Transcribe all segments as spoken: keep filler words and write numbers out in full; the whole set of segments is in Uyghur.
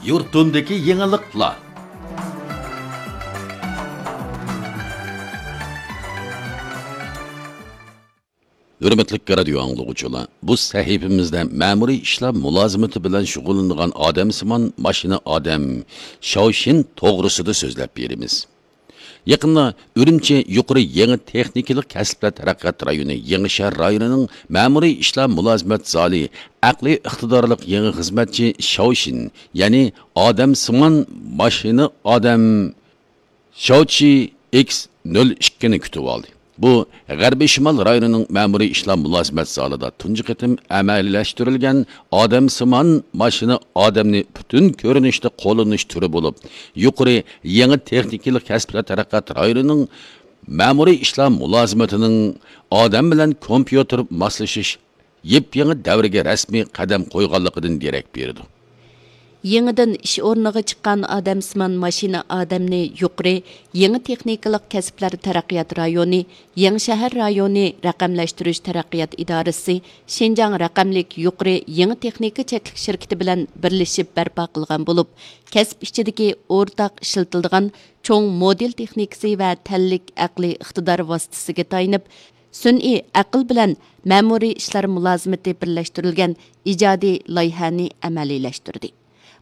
يۇرتۇمدىكى يېڭىلىقلار. ھۆرمەتلىك رادىيو ئاڭلىغۇچىلار، بۇ سەھىپىمىزدە مەمۇرىي ئىشلار مۇلازىمىتى بىلەن شۇغۇللىنىدىغان ئادەمسىمان ماشىنا ئادەم شاۋشىن توغرىسىدا سۆزلەپ بېرىمىز. يېقىندا ئۈرۈمچى يۇقىرى يېڭى تېخنىكىلىق كەسىپلەر تەرەققىيات رايونى يېڭىشەھەر رايونىنىڭ مەمۇرىي ئىشلار مۇلازىمەت زالى ئەقلىي ئىقتىدارلىق يېڭى خىزمەتچى شاۋشىن، يەنى ئادەمسىمان ماشىنا ئادەم شاۋچى ئېكس نۆل ئىككىنى كۈتۈۋالدى. بۇ غەربىي شىمال رايونىنىڭ مەمۇرىي ئىشلار مۇلازىمەت زالىدا تۇنجى قېتىم ئەمەلىيلەشتۈرۈلگەن ئادەمسىمان ماشىنا ئادەمنى پۈتۈن كۆرۈنۈشتە قوللىنىش تۈرى بولۇپ، يۇقىرى يېڭى تېخنىكىلىق كەسىپلەر تەرەققىيات رايونىنىڭ مەمۇرىي ئىشلار مۇلازىمىتىنىڭ ئادەم بىلەن كومپيۇتېر ماسلىشىش يېپيېڭى دەۋرگە رەسمىي قەدەم قويغانلىقىدىن دېرەك بېرىدۇ. يېڭىدىن ئىش ئورنىغا چىققان ئادەمسىمان ماشىنا ئادەمنى يۇقىرى يېڭى تېخنىكىلىق كەسىپلەر تەرەققىيات رايونى، يېڭىشەھەر رايونى رەقەملەشتۈرۈش تەرەققىيات ئىدارىسى شىنجاڭ رەقەملىك يۇقىرى يېڭى تېخنىكا چەكلىك شىركىتى بىلەن بىرلىشىپ بەرپا قىلغان بولۇپ، كەسىپ ئىچىدىكى ئورتاق ئىشلىتىلىدىغان چوڭ مودېل تېخنىكىسى ۋە تەنلىك ئەقلىي ئىقتىدار ۋاسىتىسىگە تايىنىپ، سۈنئىي ئەقىل بىلەن مەمۇرىي ئىشلار مۇلازىمىتى بىرلەشتۈرۈلگەن ئىجادىي لايىھەنى ئەمەلىيلەشتۈردى.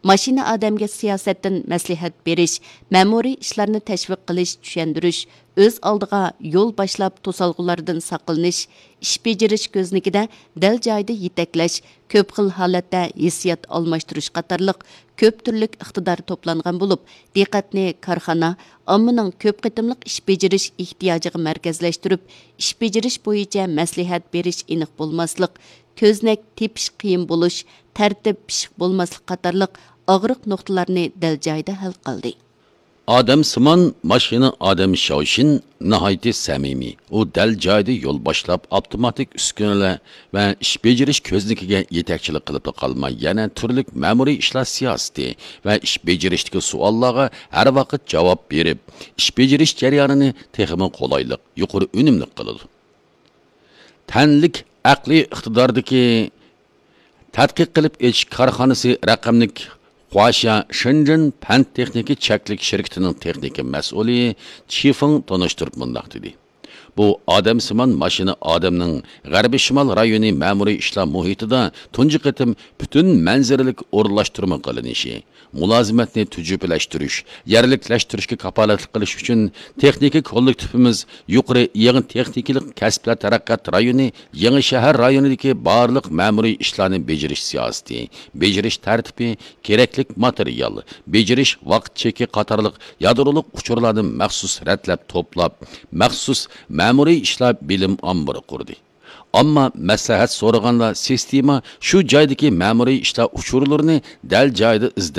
ماشىنا ئادەمگە سىياسەتتىن مەسلىھەت بېرىش، مەمۇرىي ئىشلارنى تەشۋىق قىلىش، چۈشەندۈرۈش، ئۆز ئالدىغا يول باشلاپ توسالغۇلاردىن ساقلىنىش، ئىش بېجىرىش كۆزنىكىدە دەل جايىدا يېتەكلەش، كۆپ خىل ھالەتتە ھېسسىيات ئالماشتۇرۇش قاتارلىق كۆپ تۈرلۈك ئىقتىدار توپلانغان بولۇپ، دىققەتنى كارخانا، ئاممىنىڭ كۆپ قېتىملىق ئىش بېجىرىش ئېھتىياجىغا مەركەزلەشتۈرۈپ، ئىش بېجىرىش بويىچە مەسلىھەت بېرىش ئېنىق بولماسلىق، كۆزنەك تېپىش قىيىن بولۇش، تەرتىپ پىشىق بولماسلىق قاتارلىق ئاغرىق نۇقتىلارنى دەل جايىدا ھەل قىلدى. ئادەمسىمان ماشىنا ئادەم شاۋشىن ناھايىتى سەمىمىي. ئۇ دەل جايىدا يول باشلاپ، ئاپتوماتىك ئۈسكۈنىلەر ۋە ئىش بېجىرىش كۆزنىكىگە يېتەكچىلىك قىلىپلا قالماي، يەنە تۈرلۈك مەمۇرىي ئىشلار سىياسىتى ۋە ئىش بېجىرىشتىكى سوئاللارغا ھەر ۋاقىت جاۋاب بېرىپ، ئىش بېجىرىش جەريانىنى تېخىمۇ قولايلىق، يۇقىرى ئۈنۈملۈك قىلىدۇ. تەنلىك ئەقلىي ئىقتىداردىكى تەتقىق قىلىپ ئېچىش كارخانىسى رەقەملىك خۇاشيا شېنجېن پەن تېخنىكا چەكلىك شىركىتىنىڭ تېخنىكا مەسئۇلى چى فېڭ تونۇشتۇرۇپ مۇنداق دېدى: بۇ ئادەمسىمان ماشىنا ئادەمنىڭ غەربىي شىمال رايونى مەمۇرىي ئىشلار مۇھىتىدا تۇنجى قېتىم پۈتۈن مەنزىرىلىك ئورۇنلاشتۇرما قىلىنىشى، مۇلازىمەتنى تۈجۈپىلەشتۈرۈش، يەرلىكلەشتۈرۈشكە كاپالەتلىك قىلىش ئۈچۈن تېخنىكا كوللېكتىپىمىز يۇقىرى يېڭى تېخنىكىلىق كەسىپلەر تەرەققىيات رايونى يېڭى شەھەر رايونىدىكى بارلىق مەمۇرىي ئىشلارنى بېجىرىش سىياسىتى، بېجىرىش تەرتىپى، كېرەكلىك ماتېرىيال، بېجىرىش ۋاقىت چېكى قاتارلىق يادرولۇق ئۇچۇرلارنى مەخسۇس رەتلەپ توپلاپ، مەخسۇس مەمۇرىي ئىشلار بىلىم ئامبىرى قۇردى. ئامما مەسلىھەت سورىغاندا، سىستېما شۇ جايدىكى مەمۇرىي ئىشلار ئۇچۇرلىرىنى دەل جايىدا ئىزدەپ